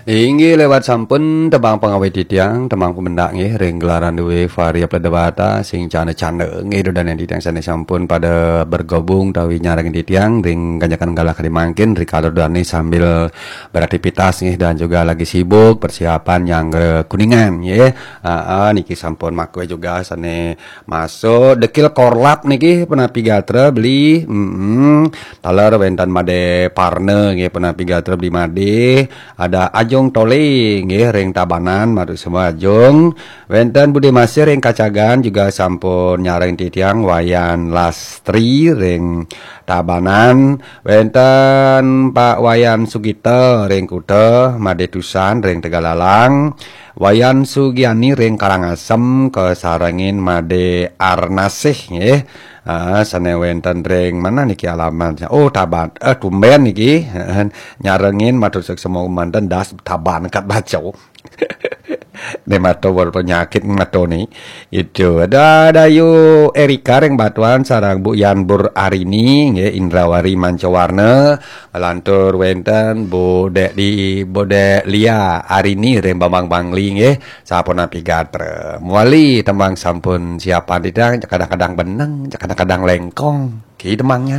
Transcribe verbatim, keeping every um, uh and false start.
Inggih lewat sampun tembang pangawit titiang, tembang pemendak nggih, ring gelaran duwe Varia Pledebata, sing canda-canda nggih, dudaning titiang sane sampun pada bergabung tawi nyarengin titiang ring ganjakan galah kadi mangkin, rikala dane sambil beraktivitas nggih, dan juga lagi sibuk persiapan nyanggra Kuningan nggih. Aa, niki sampun makwe juga sane masuk dekil korlap niki, penapi gatra beli. Mm-mm. Taler wenten Made Parna nggih, penapi gatra beli Made. Ada Ajung Tole nggih ring Tabanan, matur semua Ajung. Wenten Bude Masih ring Kacagan juga sampun nyareng titiang, Wayan Lastri ring Tabanan, wenten Pak Wayan Sugita ring Kuta, Made Tusan ring Tegalalang, Wayan Sugiani ring Karangasem kasarengin Made Arnasih nggih. Ah, sane wenten ring mana niki alamatnya? Oh, Taban. Eh, tumben niki. Nyarengin, matur suksma manten, das Taban kat baca. Ne mato berpenyakit mato ni. Itu ada Dayu Erika ring Batuan sareng Bu Yan Bur Arini nggih, Indrawari Mancawarna, lantur wenten Bu Dek di Bu Dek Lia Arini ring Bambang Bangli nggih, sapunapi gatra. Muali tembang sampun siapan titiang, kadang-kadang beneng, kadang-kadang lengkong. Ki tembangnya